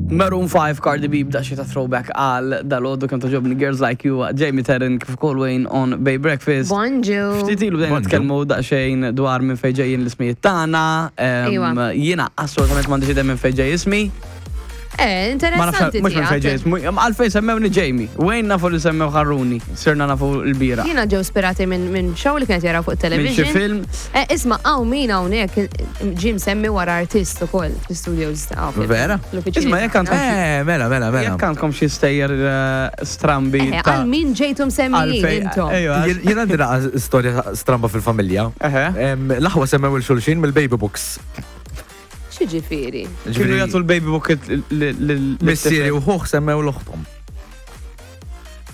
Maroon 5 Cardi B b'daqsxejn ta' throwback għal dal-għodu kemm togħġobni Girls Like You Jamie Terran kif ukoll Wayne on Bay Breakfast. Bonġu. Ftit ilu bdejna nitkellmu daqsxejn dwar minn fejn ġejjin l-ismijiet tagħna. Jiena assolutament m'għandix idea minn fejn ġej ismi. Eh, interessanti. Mhux minn fejn ġej ismu. Għalfejn semmewni Jamie. Wayne nafu li semmew ħarruni. Sirna nafu l-bira. Jiena ġew spirati minn show li kienet jaraw fuq television. Minn xi film. Eh, isma' hawn min hawnhekk ġie msemmi wara artist ukoll fl-studios ta' Vera? Isma' jekk għandkom. Eh, mela, mela, mela. Jekk għandkom xi stejjer eh, strambi. Eh, għal min ġejtu msemmijin intom. Jien għandi naqa storja stramba fil-familja. L-aħwa semmew il-xulxin mill-baby books. X'jiġifieri? Kienu jagħtu l-baby book Missieri u ħuh semmew l-oħtom.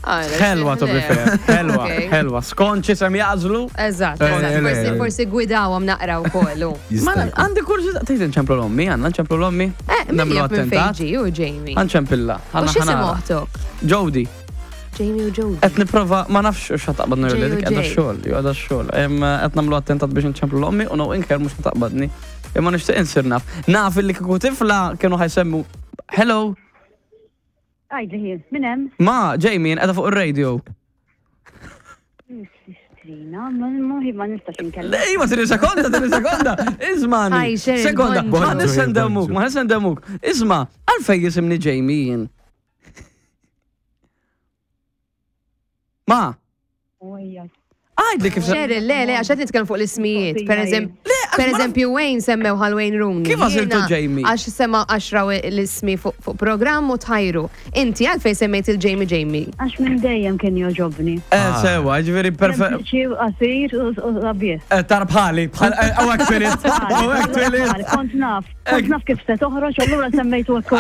Ħelwa to be fair, ħelwa, ħelwa. Skont x'isem jagħżlu. Eżatt, forsi forsi gwidawhom naqra wkoll. Ma għandi kurżità tgħid inċemplu l-ommi, għandna nċemplu l-ommi. Eh, min jaf minn fejn ġie u Jamie. Għanċempilla. U x'isem oħtok? Jody. Jamie u Jody. Qed nipprova ma nafx x'ħa taqbadni jew le dik qiegħda x-xogħol, jew qiegħda x-xogħol. Qed nagħmlu attentat biex nċemplu l-ommi u no inker mhux ħa taqbadni. Imma nixtieq insir naf. Naf illi kieku tifla kienu ħa jsemmu Hello. Għidli ħi, min hemm? Ma, Jamie, qiegħda fuq ir-radio. Sistrina, ma ma nistax inkellem. Le, ma tini sekonda, tini sekonda. Ismani. Sekonda, ma nissendemuk, ma nissendemuk. Isma, għalfej jisimni Jamie jien. Ma. Għajdli kif Cheryl, le, le, għax qed nitkellem fuq l-ismijiet. Per eżempju, per eżempju Wayne semmew għal Wayne Rooney. Kif għażiltu Jamie? Għax sema għax raw l-ismi fuq programm u tħajru. Inti għalfejn semmejt il-Jamie Jamie? Għax minn dejjem kien jogħġobni. Eh, sewa, ġifieri perfett. Sempliċi u qasir u sabiħ. Eh, tar bħali, bħal, eh, u hekk twilit, u hekk twilit. Kont naf. Kont naf kif se toħroġ, allura semmejtu hekk.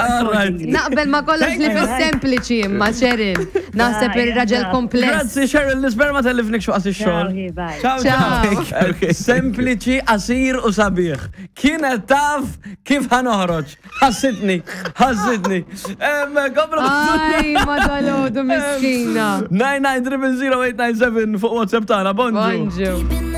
Naqbel ma kollox li fis-sempliċi imma Cheryl. Naħseb ir-raġel kompless. Grazzi Cheryl, nispera ma tellifnik x'waqt ix-xogħol. Ciao ciao. Sempliċi, qasir u sabiħ. Kienet taf kif ħa noħroġ. Ħassitni, ħassitni. Aj, ma dalodu miskina. 9900897 fuq WhatsApp tagħna. Bonġu. Bonġu.